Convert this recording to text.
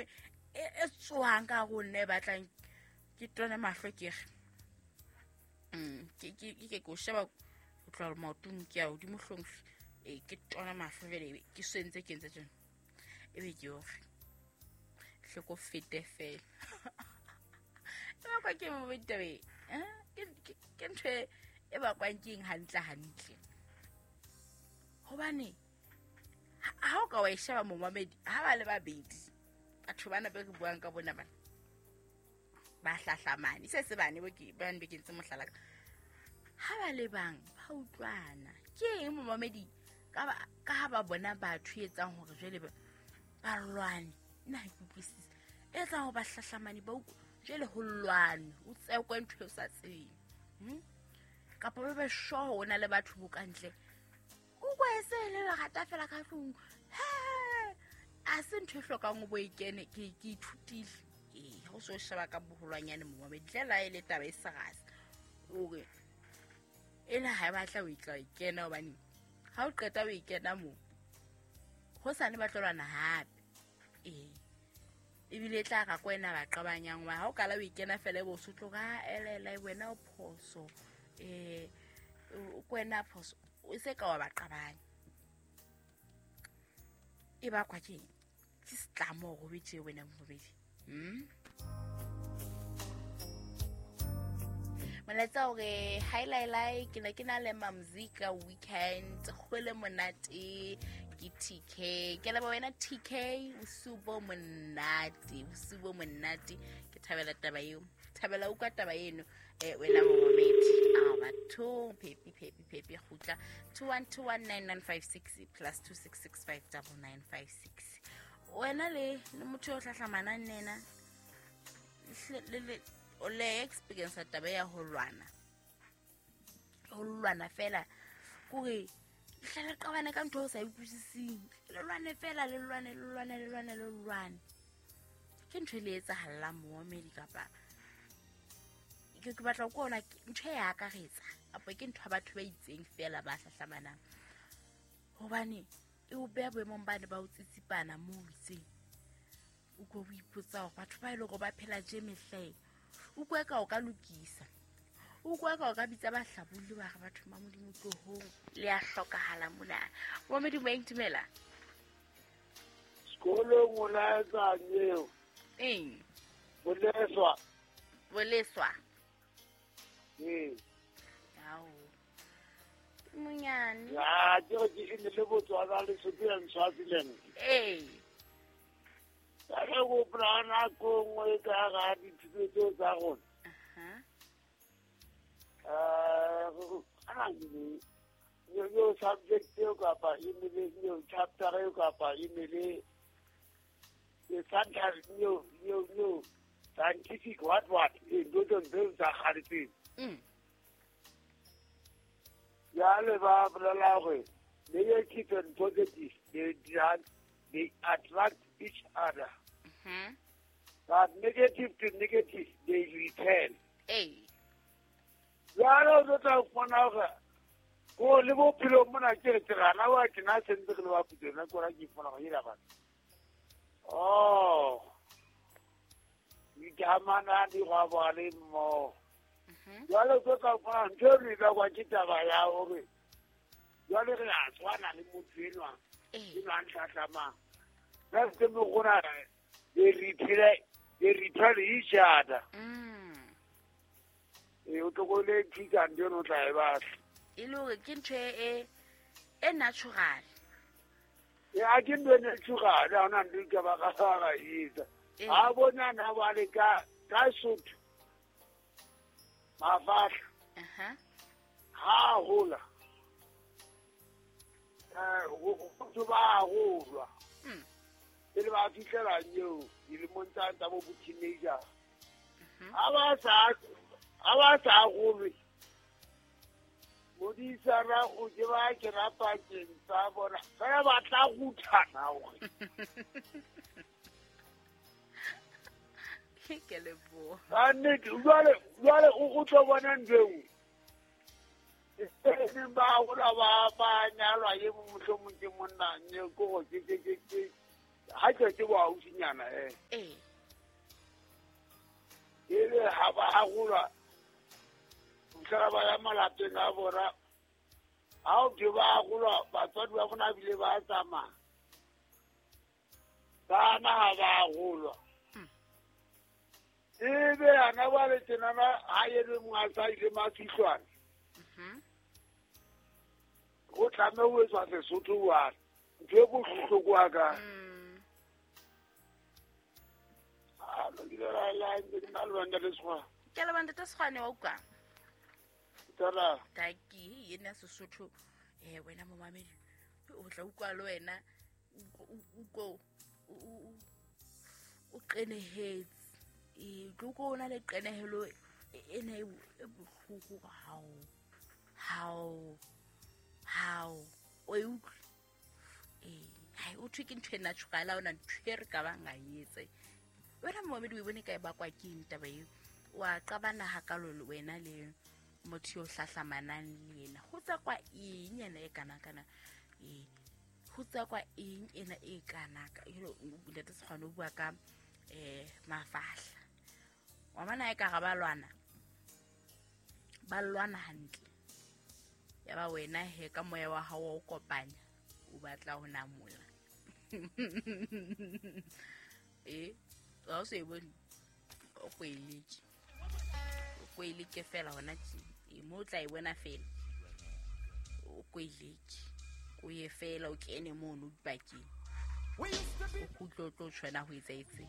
ntho e tswang ka go nna e batlang ke tone mahlo ke re ke ke o sheba go tloga maotong ke ya godimo hlong ee ke tona mahlo jale ke swentse ke ntse tsone e be ke ore hloko fete fela e bakwa ke mo ditabe ke ntho e bakwang ke eng hantle hantle gobane ha o ka wa e sheba momamedi ha ba le babedi batho bana be re buang ka bona bana ba hlahlamane se se bane bane be ke ntse mohlala ka ha ba le bang ba utlwana ke eng momamedi ka ha ba bona batho e etsang hore jwale ba lwane nna ha ke utlwisise e etsang hore ba hlahlamane ba jwale ho lwane o tsekwe ntho e o sa tsebeng kapa ba be sure o na le batho bo ka ntle o kwese le lerata fela ka tlong a se ntho e hlokang o bo e kene ke ithutile ee go se o sheba ka boholwanyane momamedi tlela e le taba e serase ore e le ga e batla o itla e kena gobane ga o qeta o e kena moo go sane ba tlolwana gape ee ebile e tla ga ko wena ba qabanyang wa ga o kala o ikena fela e bo se tloga elela wena o phoso um ko wena phoso o se ka wa ba qabanya e bakwa ke ke setlamo go betse wena mobedi molaetsa gore hi lailai ke ne ke na le mamzika weekend go le monate ke TK ke leba wena TK bosiu bo monate bosiu bo monate ke thabela taba eo thabela utlwa taba eno wena momamedi a bathong phepi phepi phepi kgutla 21219956 plus 26659956 wena le le motho yo o hlahlamanang le ena o le experience taba ya ho lwana ho lwana fela kore hle le qabane ka ntho o sa utlwisiseng le lwane fela le lwane le lwane le lwane le lwane ke ntho e le etsahalelang moomedi kapa ke batla ko ona ntho e akaretsa kapa ke ntho ya batho ba itseng fela ba hlahlamanang hobane e o beha boemong bane ba o tsitsipana mo o itseng o ko o ipotsa gore batho ba e le gore ba phela je mehleng o kwa ka o ka lokisa o kwa ka o ka bitsa bahlabulli ba re batho ba modimo tlohong le a hlokahala mona wa modimo eng dumela sekolong o laetsang eo eng boleswa boleswa ee ao monyane ya ke re ke ne le Botswana le Lesotho and Swaziland ee ka re go gopola nako nngwe ka ga dithuto tseo tsa rona yo subject eo kapa e ne le yo chapter eo kapa e ne le yo yo scientific what e ntho tseo tsa kgale tseo jale ba bolela gore negative and positive they attract each other. But negative to negative they repel. Jalo o tla fumana gore ko le bophelo mona ke re tsegana wa ke na sentse ke le wa putona ko ra ke fumana go ira batho. Oh. Ditamana di go ba le mo. Jalo o tla fumana ntho e ba kwa ke taba ya hore jalo re a tshwana le motho enwa. Ke nwa ntlhatlhamang. Ka se mo gona they repel each other. E o tlogole thusa ntho eno o tla e batla. E le hore ke ntho e natural. Ya ke ntho e natural, ha hona ntho e ka ba ka etsa. Ha bona na ba le ka Sotho. Mafahla. Ha hola. Go ba golwa. Pele ba fitlhela eo dilemong tsa bo teenager. Ha ba sa golwe. Modisana o ke ba ke rapakeng tsa bona. Fela ba tla ruthana hore. Ke leboha. Ka nnete jwale o tlo bona ntho eo. E ba hola ba nyalwa e mohlomong ke monna ke go ke Ha ke bo ausinyana Ebe ha ba harolwa mhla ba ya malapeng a bona. Ha o ke ba harolwa batswadi ba bona bile ba tsamaya. Bana ha ba harolwa. Ebe ana ba le tsenana ha yene mong a sa ile mafihlwana. Go tlameha ho etswa Sesotho wa ntho e bohloko wa ka. Ke le banda Sekgwane wa utlwa. Taki yena Sesotho wena momamedi o tla utlwa le wena o qenehetse. Tlo ko ona le qenehelo ena e bohloko hao o e utlwe. Hai o thwe ke ntho e natural ona ntho e re ka bang a etse. Wena momamedi o e bone ka e bakwa ke eng taba eo? Wa qabana hakalo le wena le motho yo hlahlamanang le yena. Ho tswa kwa eng ena e kana kana? Ho tswa kwa eng ena e kana ka? Ntate Sekgwane o bua ka mafahla. Wa bona e ka ga ba lwana. Ba lwana hantle. Ya ba wena he ka moya wa hao o kopanya o batla ho namola. Ha o se bone o kweleke. O kweleke fela hona tje. Mo tla e bona fela. O kweleke. O ye fela o kene mono dipakeng. O kgutlo tlo tshwana ho etsa etse.